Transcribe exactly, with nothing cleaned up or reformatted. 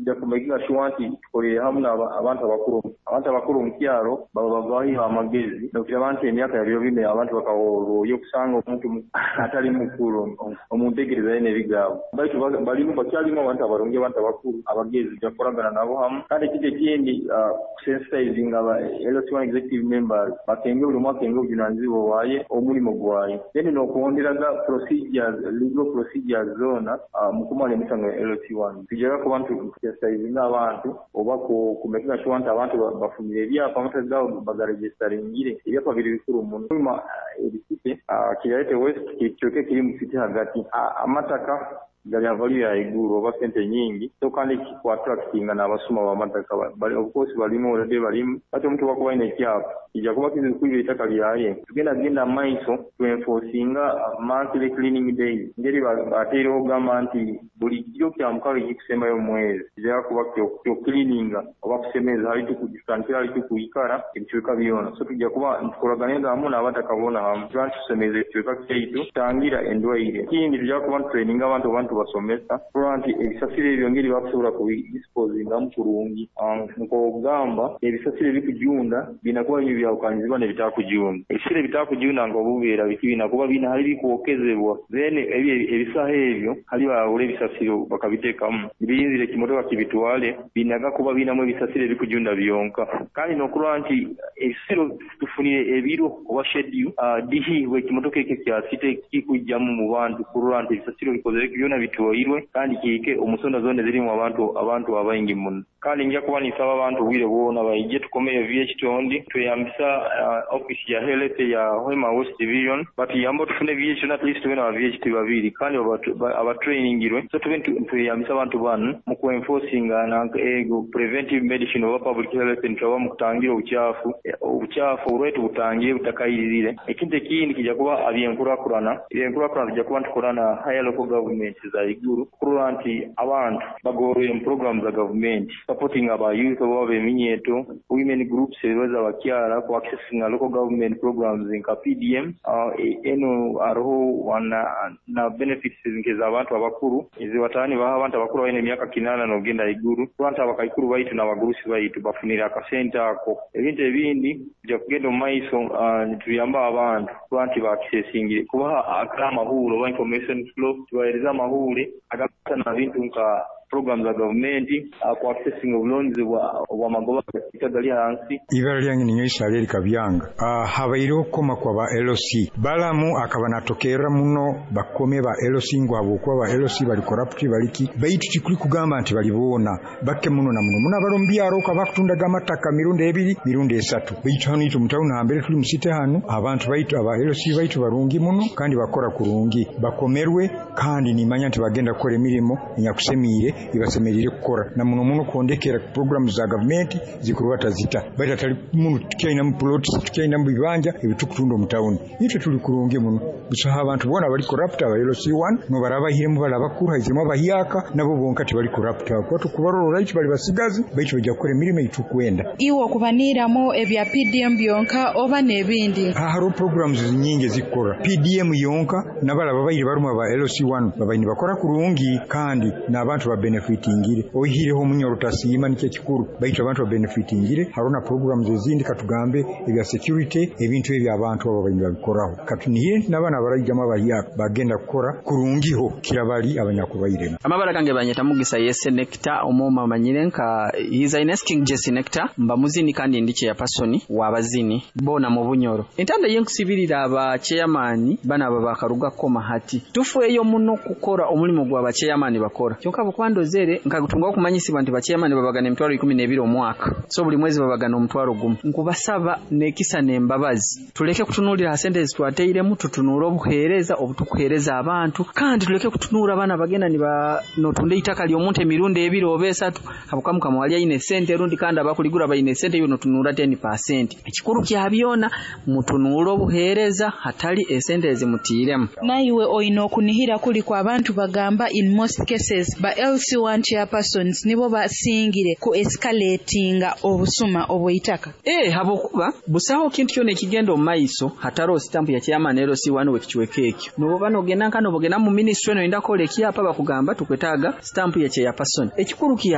Tujja kumakinga sure nti tukolere hamu abantu abakuru. Abantu abakuru omu kyaro baba babahiho amagezi, nokiraba nti emyaka ya biro binu abantu bakahorroyo, okusanga omuntu atali mukuru omu nteekereza ye n'ebigambo, baitu balimu, bakyalimu abantu abarungi, abantu abakuru abagezi, tujja kukoragana nabo hamu. Kandi ekintu ekindi, kusensitizinga aba L C one executive members, bakenge, buli omu akenge obujunanizibwa bwaye, omulimo gwaye, then n'okuhonderaga procedures, legal procedures zoona mu kumara emisango ya L C one. Tujja kuba ntusensitizinga abantu oba kumakinga sure nti abantu bafunire ebyapa, amataka gaabo bagaregisitaringire. Ebyapa biri bikuru muno. Ebisite Kiryarete West kicweka ekiri mu city hagati, amataka gali value ya iguru oba sente nyingi, so kandi kikuattractinga n'abasuma b'amataka. Of course balimu already, balimu, ati omuntu bwakuba ayina ekyapa kijja kuba kizibu kwiba ettaka lyaye. Tugenda genda mu maiso twenforcinga monthly cleaning days, ngeri bateireho kugamba nti buli kiro kya mukaaga ekikusembayo mu mwezi kijja kuba kyocleaninga oba kusemeza, hali tutandikira hali tukwikara, ebicweka byona. So tujja kuba ntukolaganira hamu n'abataka boona hamu, tuba ntusemeza ekicweka kyaitu, tutangira endwaire. Ekindi, tujja kuba ntutraininga abantu oba ntubasomesa kurora nti ebisasiro ebyo ngeri bakusobola kubidisposingamu kurungi, nk'okugamba ebisasiro ebikujunda biina kuba byo byawukanizibwa n'ebitakujunda. Ebisasiro ebitakujunda nk'obuveera biki biina kuba biina hali bikwokezebwa, then ebyo ebisaho ebyo hali bahura ebisasiro bakabiteekamu, biyinzire ekimotoka kibitwale, binaga kuba biinamu ebisasiro ebikujunda byonka. Kandi n'okurora nti ebisasiro tufunire ebiro oba schedule dihi ekimotoka ekyo kya city kikwijjamu mu bantu kurora nti ebisasiro bikozere byona bitwairwe, kandi kiike omu nsonda zoona ezirimu abantu abantu abaingi muno. Kandi nja kuba ninsaba abantu obwire bwona baije tukomeyo V H Tondi, tweyambisa uh, office ya health ya Hoima West Division, batuyambe tufune V H at least tube na V H T babiri kandi abatrainingirwe, so tube tweyambisa abantu banu mu kuenforcinga na ego preventive medicine oba public health, nitwaba mu kutangira obukyafu obucaafu oburwaire tubutangire butakayirire. Ekintu ekindi kijja kuba ebyenkurakurana. Ebyenkurakurana tujja kuba ntukora na higher local government za iguru kurora nti abantu bagorwire mu program za gavumenti, supporting aba youth oba beminyeto, women groups ebibaza abakyara ku accessing local government programs nka P D M. uh, eno hariho na, na benefits nk'ez'abantu abakuru ezibatani baha abantu abakuru balina emyaka kinaana n'ogenda iguru, kuba nti abakaikuru baitu n'abagurusi baitu bafunire akasente ako. Ebintu ebindi tujja kugenda omu maiso uh, nituyamba abantu kuba nti bakisesingire kubaha amahuri oba information flow, tubahereza amahuri agata bintu nka program za gavumenti, ku accessing obulonzi obwamagoba gali hansi. Ibara lyange ninyo Isareli Kabyanga. uh, habaireho okukoma kwa ba L C. Balamu akaba natokerra muno bakome ba L C ngu habwokuba ba L C bali corrupt, baliki, baitu tikuli kugamba nti bali boona, bakke muno na muno muno abali omu byaro kabakutundaga amataka mirundi ebiri, mirundi esatu. Baitu hanu itwe mutawuni hambere tuli musite hanu, abantu baitu aba L C baitu barungi muno kandi bakora kurungi, bakomerwe, kandi nimanya nti bagenda kukora emirimo enyakusemiire ibasemerire kukora, na muno muno kwondekera programu za gavumenti zikurwata zita. Baitu atali muno, tukyaina mu plots, tukyaina mu bibanja ebitukutunda omu tawuni. Itwe tuli kurungi muno, busaho abantu boona bali corrupt. Aba L C one nobarabahiremu bali abakuru, haiziremu abahyaka, nabo bonka tibali corrupt, kuba tukubarora right, bali basigazi, baitu bajja kukora emirimo eitukwenda. Iwe okubaniiramu ebya P D M byonka oba n'ebindi? Hariho programs nyingi ezikukora P D M yonka, nabalaba babaire barumu aba L C one babaire nibakora kurungi kandi n'abantu babenefitingire, oihireho omunyoro tasiima, nikyo ekikuru, baitu abantu babenefitingire. Hariho na programs ezindi, katugambe ebya security, ebintu ebyo abantu abo babaire babikoraho. Katunihe nti n'abaana abaraijamu abahyaka bagenda kukora kurungiho kira bali abanyakubairemu. Amabara gange banyeta Mugisa Yese Nectar, omoma manyire nka His Highness King Jesse Nectar, mba muzini kandi ndi chairperson w'abazini bona mu Bunyoro. Entanda yenkusibirira aba chairman bana aba bakaruga koma hati tufweyo muno kukora omulimu gwa ba chairman bakora, kyonka bukwandozere nkagutunga okumanyisibwa nti ba chairman babagana emitwaro ikumi n'ebiri omwaka, so buli mwezi babagana omutwaro gumu. Nkubasaba nekisa n'embabazi, tuleke kutunuulira sente ezitwateiremu, tutunuule obuheereza obutukuheereza abantu, kandi tuleke kutunuura abaana bagenda niba notunda eitaka ly'omuntu emirundi ebiri oba esatu habwokuba mukama wali aine sente, rundi kandi abakuligura baine sente, iwe notunuura ten percent. Ekikuru kya byona, mutunuule obuheereza hatali esente ezimutiiremu. Naiwe oyina okunihira kuli kwa abantu bagamba in most cases ba L C one chairpersons nibo basingire ku escalatinga obusuma obw'eitaka? Eh, habwokuba busaho kintu kyona ekigenda omu maiso hatariho sitampu ya chairman L C one w'ekicweka ekyo. Noboba nogenda nka nobogenda mu ministry noyenda kukola ekyapa, bakugamba tukwetaaga sitampu ya chairperson. Ekikuru kya